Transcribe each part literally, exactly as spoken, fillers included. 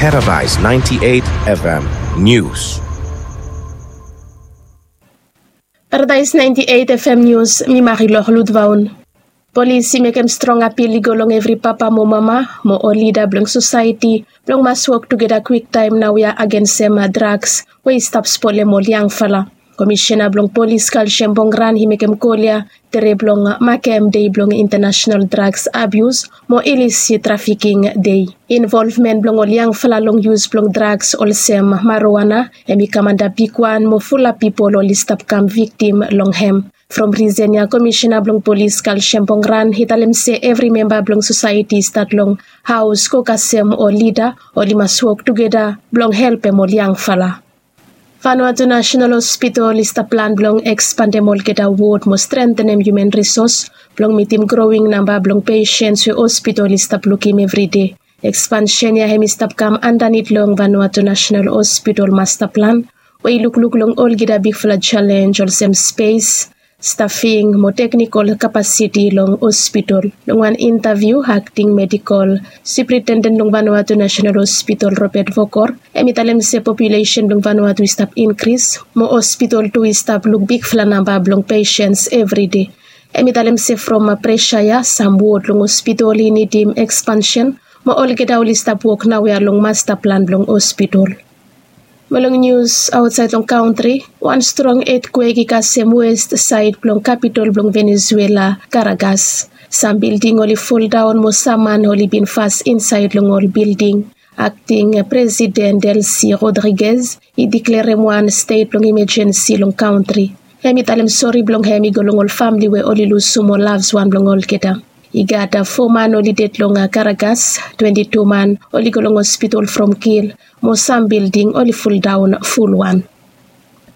Paradise ninety-eight F M News. Paradise ninety-eight F M News, mi Marilor Ludvaun. Polis i mekem strong apil i go long evri papa mo mama mo ol lida blong sosaeti blong mas wok tugeta kwiktaem naoia agensem drugs we i stap spolem ol yangfala. Komisena blong polis Kalsem Bongran i mekem kol ya tere blong makem dei blong International Drugs Abuse mo Illicit Trafficking Day. Involvmen blong ol yangfala long yus blong drugs olsem marijuana hem i kam anda bigwan mo fulap pipol oli stap kam viktim long hem. From risen ya komisena blong polis Kalsem Bongran i talem se evri memba blong sosaeti stat long haos go kasem ol lida oli mas wok tugeta blong helpem ol yangfala. Vanuatu National Hospital i stap plan blong ekspandem olgeta wod mo strentenem hiuman risos blong mitim growing namba blong pesens we hospital i stap lukim evride. Ekspansen ya hem i stap kam andanit long Vanuatu National Hospital masta plan we i lukluk long olgeta bigfala jalenj olsem spes, stafing mo teknikol kapasiti long hospital. Long wan intaviu, akting medikol supritenden blong Vanuatu National Hospital Robert Vokor hem i talem se populesen blong Vanuatu i stap inkris mo hospital tu i stap luk bigfala namba blong pesens evride. Hem i talem se from presa ya sam wod long hospital i nidim ekspansen mo olgeta oli stap wok naoia long masta plan blong hospital. Mo long nius aotsaed long kantri, wan strong etkwek i kasem west saed blong kapitol blong Venezuela, Karagas. Sam bilding oli foldaon mo sam man oli bin fas insaed long ol bilding. Akting presiden Delcy Rodriguez i diklerem wan stet blong imajensi long kantri. Hem i talem sori blong hem i go long ol famle we oli lusum ol lavswan blong olgeta. I gat fo man oli ded long Karagas, twenti tu man oli go long hospital from kil mo sam bilding oli foldaon fulwan.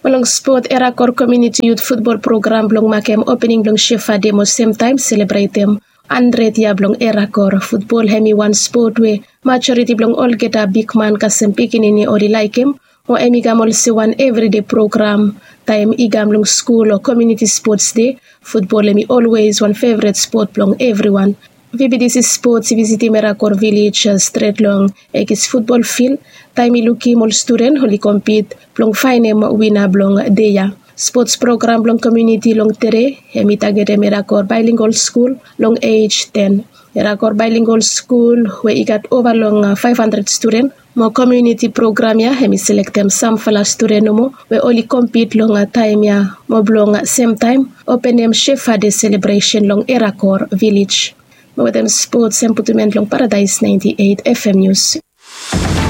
Mo long spot, Erakor Komuniti Yut Futbol Program blong makem opening blong Shefa Dei mo semtaem selebretem handred yia blong Erakor. Futbol hem i wan spot we majoriti blong olgeta bigman kasem pikinini oli laekem mo hem i kam olsem wan evride program. Taem i kam long skul o komuniti spots dei, futbol hem i olwes wan fevret spot blong evriwan. VBDC Spots i visitim Erakor Vilej stret long Ekis futbol fil taem i lukim ol studen oli kompit blong faenem wina blong dei ya. Spots program blong komuniti long tede hem i tagetem Erakor Baelingol Skul long ej ten. Erakor Baelingol Skul we i gat ova long faef handred studen mo komuniti program ya hem i selektem samfala studen nomo we oli kompit long taem ya mo blong semtaem openem Shefa Dei selebresen long Erakor Vilej. Mo wetem spots hem putum en long Paradaes naenti eit FM Nius.